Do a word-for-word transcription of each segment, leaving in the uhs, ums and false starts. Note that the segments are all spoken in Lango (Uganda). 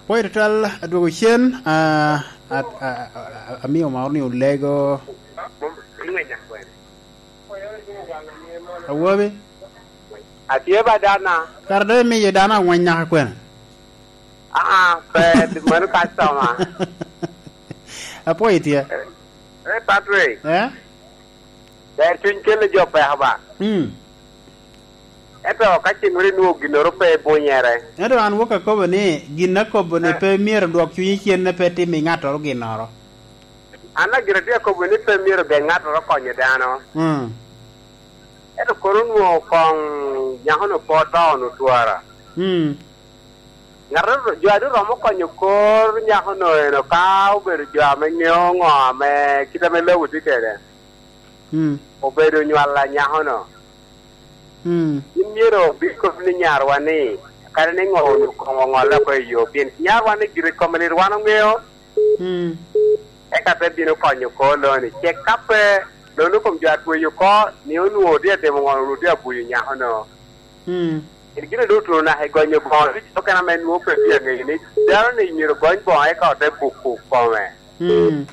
Pwoyo tutwal adwogo cen, a, a, a, a, amio moro ni olego. Awobi? Atye ba dana. Kara doŋ imiyo dano angweny naka kwene? Aa, pe, mano customer. Apwoyo tye. Eh, Patrick. Eh? Ber cuny kelle jo peko ba. Mm. Ento ka cen weri nwoŋo ginnoro pe ibunyere. Ento an wok akobo ni gin akobo ni pe myero dwok cunyi cen, ne pe tim i ŋattoro ginnoro. An agire tye akobo ni pe myero ben ŋattoro konyo dano. Mm. Ento kono nwoŋo koŋ nyako-nu pe oto-nu twara. Mm. Ŋat a, jo a doŋ romo konyo kor nyako-nu eno ka obedo jo ame ŋeo ŋo ame kit ame lobo tye kede. Mm. Obedo nywal a nyako-nu. Mm. Gin myero obin kop ni nyarwa ni, kadi ni ŋo onyo koŋ oŋolle oko i yo, pien nyarwa ni gire kome lit wan oŋeo. Mm. Eka te bino konyo oko loni. Cek ka pe, loni kom jo a tweyo oko, ni onwoŋo tye atimo ŋo, onwoŋo tye abuyo nyako-nu. Mm. Pien gin a doŋ otuno naka i gonyo boŋo ducu, okene ame nwoŋo pe tye aŋeyo ni dano ni myero ogony boŋo eka ote buko kome. Mm.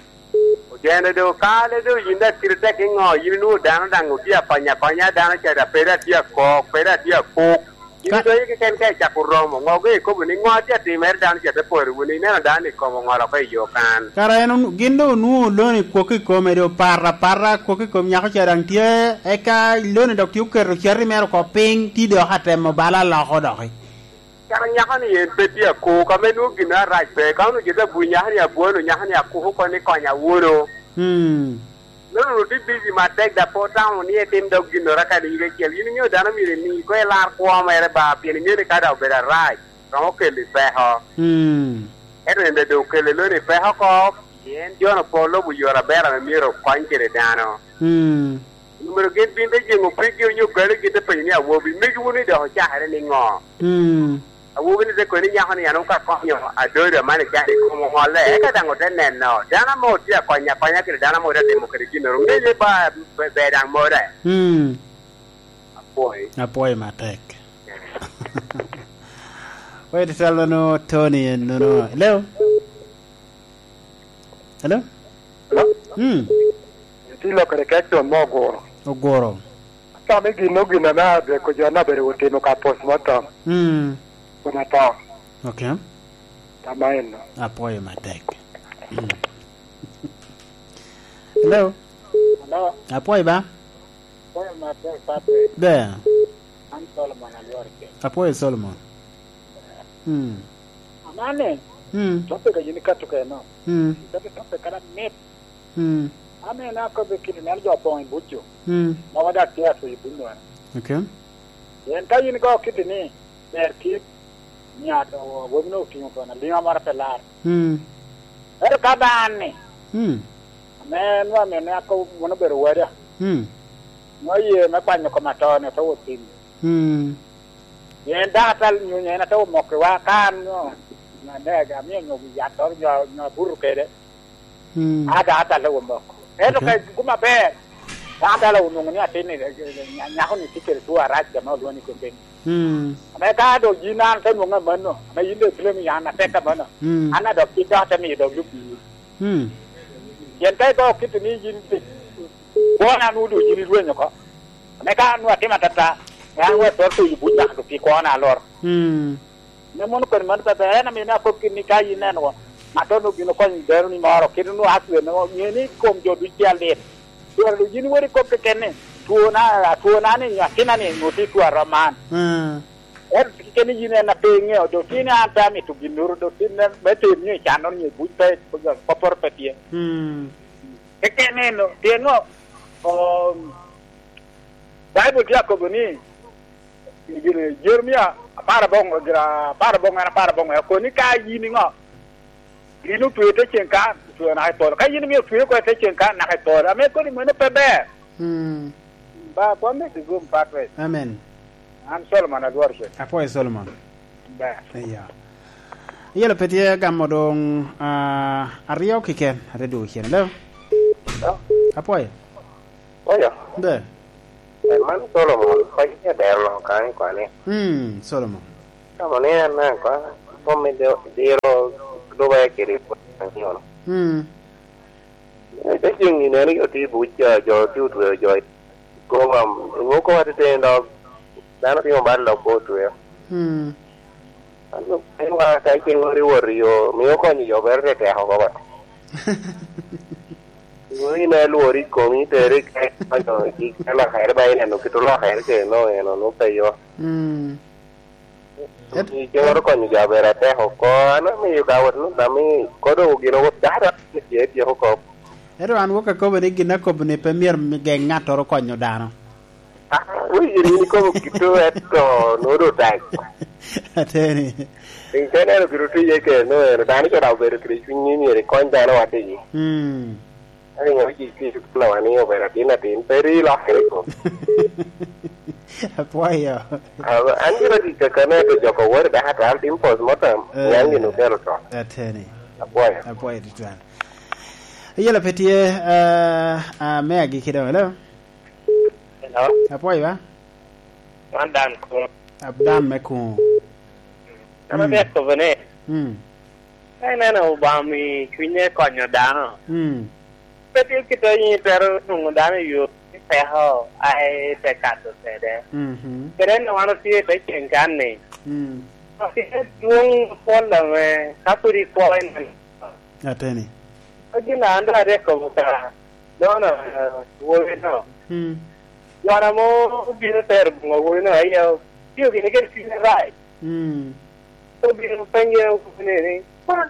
Ojene doŋ kale doŋ yin daŋ kite tek i ŋo, yin inwoŋo dano daŋ otye akonyo akonya, dano ca daŋ pe daŋ tye akok, pe daŋ tye akok. Yin Ka- idonyo keken ka icako romo, ŋo ge ikobo ni ŋo tye atimere, dano ca te poro wunu, ineno dano ni kom oŋolo oko i yo kan. Kara en onu-, gin doŋ onwoŋo loni kwok i kome, doŋ oparra apara, kwok i kom nyako ca daŋ tye, eka loni dok tye oketo cati mere oko piny, ti dok atemo bala aloko doki. Kara nyako-ni en pe tye akok, ame nwoŋo gin arac pe, ka onwoŋo jo te abuny nyako-ni abwano, nyako-ni akoko oko ni konya wunu. Mm. Nonwongo tye bici matek, dok pe otamo ni etim dok ginnoro kadi yiga acel. Yin iŋeo dano myero imi ko ilar kwo mere ba, pien iŋeo ni ka dok obedo arac, romo keli peko. Mm. Ento en daŋ doŋ okele loni peko oko, pien jo-nu pe olubo yore aber ame myero okony kede dano. Mm. Myero gin bin te jeŋo piggi onyo galli, gin te penyo ni, "Awobi, megi wunu ni dok ocakere niŋo?" Mm. Awobi-ni te kono ni, "Nyako-ni an ka konyo adodo aman i can i kom oŋolle, eka daŋ ote neno dano ame otye akonya akonya kede dano ame otye atimo kede ginnoro, ŋeye ba, be, ber daŋ more." Mm. Apwoyi. Apwoyi matek. Wait, tell me no Tony and no, no. Hello? Hello? Hello? Mm. Itye lokere kec con mo oguro. Oguro. Atamo i gin, gin ame adweko jo ame abedo otimo ka postmortem. Mm. Kun ato. Okay. Tama eno. Apwoyo matek. Mm. Hello? Hello? Apwoyo ba? Apwoyo matek, Patrick. Ber. An Solomon Alwor Keny. Apwoyo Solomon. Mm. Amane, mm, topic a yin ikato keno. Mm. Ikato topic kara mit. Mm. An en akobbe kit nen jo opoŋ i buc jo. Mm. Ma wada tye atweyo i buc nwa. Okay. Pien ka yin igo kit ni, ber kit nyato, wobino otiŋo kono, liŋa moro pe lar. Mm. Ento ka dano ni, mm, ame nwa mene ako wun obedo wada. Mm. Nwa ye me kwanyo kom atoni, ote wot tim. Mm. Pien dako atal nyonyo en ate omoko i wa, ka an nyo, nyo adega, amio nyo yattoro, nyo, nyo abuto kede. Mm. A, dako atal omoko. Ento, okay, ka igumo aber, dako atal onwoŋo ni atin ni, nya-, nyako-ni tye kede two arac ame olwoŋo ni cocaine. Mm. Ame ka dok yin an te nwoŋo amanno, ame yin dok ipilemi an atek amanno, mm, an a dok kit dok ate miyo dok lub i yin. Mm. Pien ka igo kit ni yin, kwona nwoŋo doŋ yin irwenyo oko. Ame ka an nwoŋo atimo atata, an nwoŋo atwero tuyo buc nyaka doŋ pi kwona alor. Mm. Me mono koni mano pepe, en amio ni akop kit ni ka yin neno, ŋattoro obino konyo dano ni moro, kit onwoŋo accident, ŋe ni kom jo ducu tye alit. Twara doŋ yin iwot ikop keken ni, twona, atwona ni, nyo atina ni, nwoŋo tye two arom man. Mm. Ento keken ni yin en a pe iŋeo, doŋ tin an pe amito ginnoro, doŋ tin en me ter nyo i cannoro nyo i buc pe, kopporo pe tye. Mm. Keken eno, pien ŋo? Um, Baibul tye akobo ni, i gin Jeremia apar aboŋo, gira apar aboŋo, en apar aboŋo, okobo ni ka yin iŋo? Gin otweo te ceŋ kan, otweo naka i polo. Ka yin imio otweo oko te ceŋ kan, naka i polo. Ame kodi mano pe ber. Mm. Ba, kwan me kigum, Patrick. Amen. An Solomon Alwor Cen. Apwoyo Solomon. Ber. Iya. Iyelo pe tye gamo doŋ, ah, aryo kiken, ate dwogo cen. Hello? Hello? Apwoyo. Oyo. Ber. Eh, man Solomon, kony me dero loka ni kwane. Mm, Solomon. Solomon ni en naka, Kom me diro, diro lube kede pwony anyono. Mm. Te ceng ineno jo tye i buc, jo, jo tye otweo jo i kom, nwoŋo koma teteni dok dano timo bal dok pe otweo. Mm. An dok piny wa ka ceng ori wot i yo, mio konyo jo bere te teko oko bat. Nwoŋo in alwori i komi, tere i kek, konyo i kek, ka lokere ba ineno kit olokere kede nwoŋo en, onwoŋo pe yo. Mm. Et- Ceng oro konyo jo aber atek oko, an amiyo ka wot ni, ami kodo gin owot dada ni tye tyeko kop. Ento an wok akobo ni gin akobo ni pe myero geŋ ŋattoro konyo dano. Ah, winy rin ikobo kito eto nodo tak. Ateni. Piny ka ineno kit otye iye kede no, eno dano co dok obedo kede cwiny ni myero ikony dano wadigi. Mm. Ento ŋo ci, ci, ci, lawa ni obedo atin atin, pe ri lokere ko. Apwoyo. Ah, an gin ati kakane to joko wori daka to an tim postmortem, eh, nyan gin okelo to. Ateni. Apwoyo. Apwoyo tutwal. Yela pe tye, eh, ah, me agikki dong, hello? Hello? Apwoyo ba? Man Dan Kun. Ab-, Dan me Kun. An, mm, atek kobo ni, mm, ka ineno Obama i cwinye konyo dano, mm, pe tye kit a yin itero nwoŋo dano i yo ni peko a ite kato kede. Mhm. Kede en wan otye i te ceng kan ni, mm, otye dwoŋ apol ame ka pwod ikwo ineno. Ateni. Ka gin a an doŋ atek kobo ka dona, eh, wowi no. Mm. Dona mo obino tero boŋo wowi no, aye otio gini kede cwiny arac. Mm. Obino penye ni, ni, "Ma,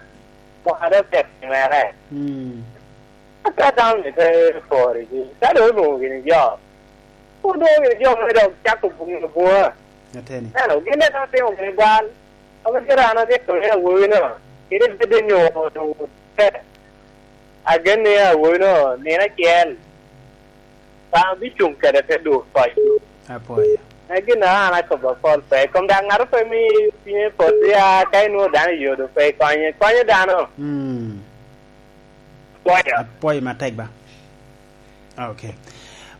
mwaka doŋ tek mere." Mm. Aka dano ni te poro gi, ka doŋ olwoŋo gini jo. Olwoŋo gini jo me dok cako boŋo boŋa. Ateni. Eno, gin daŋ otimo gini bal. Ame kara an abyeko ni awowino, kede bedo nyo doŋ ote. Agen ni awowino nino acel, Obaŋa bicuŋ kede te dur koc. Apwoyo. En gin a an akobo apol pe. Kom daŋ ŋato pe mi cwinye pot ya ka inwoŋo dano i yodo pe ikonye. Konyo dano. Mm. Apwoyo. Apwoyo matek ba. Ok.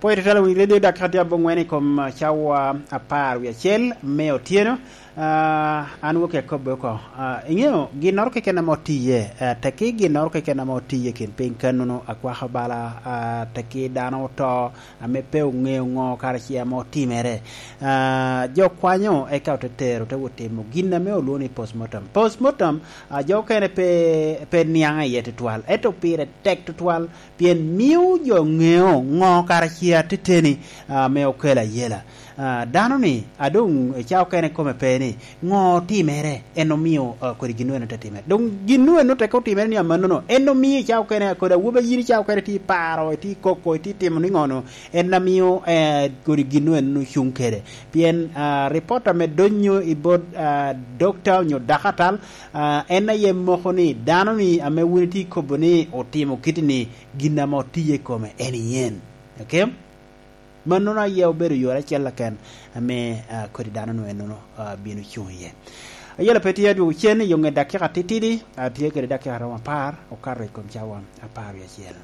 Pwod itwero winy redio dakika tye abongwen i kom, ah, cawa apar wie acel me otyeno. Ah, an wok i akobbe oko. Ah, iŋeo, ginnoro keken ame otiye, ah, tekki ginnoro keken ame otiye kin piny kannono, akwaka bala, ah, tekki dano oto, ame pe oŋeo ŋo kara ci ame otimere. Ah, jo kwanyo eka ote tero, te wot timo gin ame olwoŋo ni postmortem. Postmortem, ah, jo okene pe, pe niaŋ iye tutwal, ento pire tek tutwal. Pien mio jo ŋeo ŋo kara ci ateteni, ah, ame okelo ayela. Ah, dano-ni, a doŋ i cawa okene kome pe ni, ŋo otimere, en omio, ah, kodi gin eno te timere. Doŋ gin eno teke otimere ni amannono, en omio i cawa okene, kodi awobi a yin i cawa okene itye paro, itye koko, itye timo ni ŋo-nu, en amio, eh, kodi gin eno cuŋ kede. Pien, ah, ripot ame donyo i bot, ah, dokta onyo dakatal, ah, en aye moko ni dano-ni ame wun itye kobo ni otimo kiti-ni, gin ame otiye i kome en yen. Ok? Mannono aye obedo yore acel keken ame, ah, kodi dano-nu ennono, ah, bino cuŋ iye. Ayela pe tye adwogo cen i yo ŋet dakika titidi, atye kede dakika romo apar, okato i kom cawa apar wie acel.